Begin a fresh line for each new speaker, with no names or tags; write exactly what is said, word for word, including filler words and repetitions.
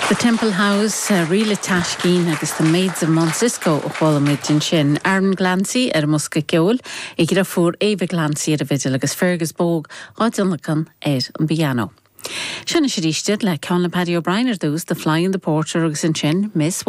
The Temple House, uh, Ríle Taiscín agus The Maids of Mount Cisco a chuala muid ansin. Aaron Glancy ar an mbosca ceoil, a dheirfiúr Ava Glancy ar an bhfidil agus Fergus Bogue á dtionlacan ar an bpianó. Sin is arís le ceann le Paddy O'Brien ar dtús, The Fly and the Porter agus ansin Miss